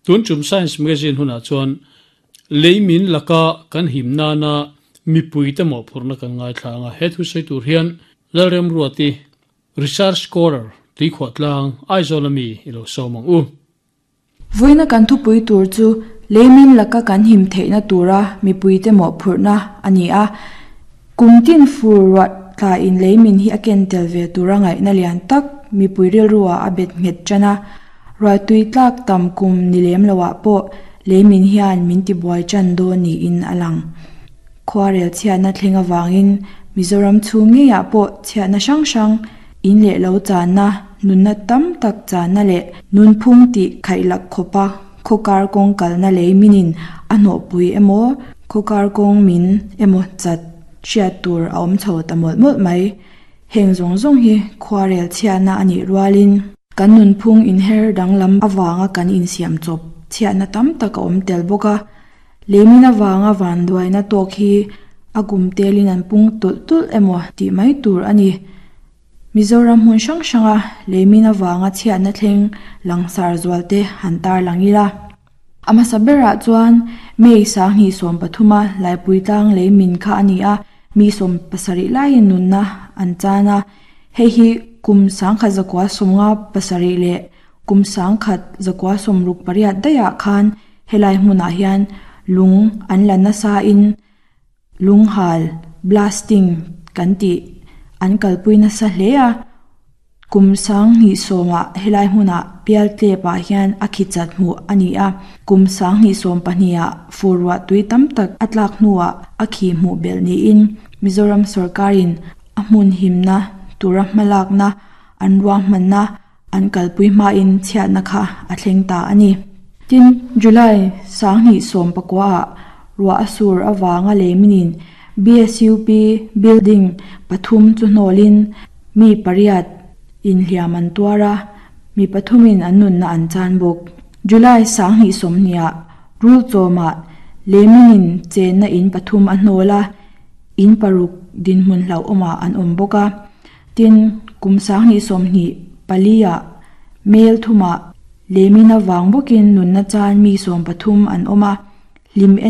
Tun tum Science Magazine hunah chuan leimin laka kan him nana mipuite mawhphurhna kan ngaithla ang a, he thu sawi tur hian Lalremruati, Research Scholar, Tuikhuahtlang, Aizawl ami i lo sawm ang u. Vawiina kan thupui tur chu leimin laka kan him theihna tura mipuite mawhphurhna a ni a. Kum tin fur ruah tlain leimin hi a ken tel ve tura ngaihna lian tak mipui rilruah a bet nghet tan a. Ruahtui tlak tam kum ni lem loah pawh leimin hian min tibuai tan dawn niin a lang. Khuarel chhiatna thleng avangin Mizoram chhung ngeiah pawh chhiatna hrang hrang, in leh lo channa, nunna tam tak channa leh nunphung tih khaihlak khawpa khawkar kawng kalna lei minin a hnawhpui emaw, khawkar kawng min emaw chat hriat tur a awm chho ta mawlh mawlh mai. Heng zawng zawng hi khuarel chhiatna a nih rualin kan nunphung inher danglam avanga kan insiam chawp chhiatna tam tak a awm tel bawk a. Leimin avanga vanduaina tawk hi a kum telin an pung tulh tulh emaw tih mai tur a ni. Mizoram hmun hrang hranga leimin avanga chhiatna thleng langsar zualte han tarlang ila. A hmasa berah chuan May sanghnih 13 a Laipui tlang leimin kha a ni a, mi 70 laiin nunna an chan a. Hei hi kum 1957 leh kum 1968 daihah khan Helai hmunah hian lung an la nasa in lunghal, blasting, kan tih an kalpui nasa hle a, kum 2010 ah helai hmunah pialtlep ah hian a khi chat hmuh a ni a, kum 2012 ah fur ruah tui tam tak a tlak hnuah a khi hmuh belh niin Mizoram sawrkarin a hmun himna tura hmalakna an ruahmanna An kalpui hmain chhiatna kha a thleng ta a ni. Tin, July 2019 ah ruah a sur avanga leiminin BSUP building pathum chu hnawlin mi pariat inhliam an tuar a, mi pathumin an nunna an chan bawk. July 2020 ah Rulchawmah leiminin chenna in pathum a hnawl a, in paruk dinhmun hlauhawmah an awm bawk a. Tin, kum 2024 ah Mel thumah Lemina vang bawkin nunna chan mi 13 an awm a, hlim.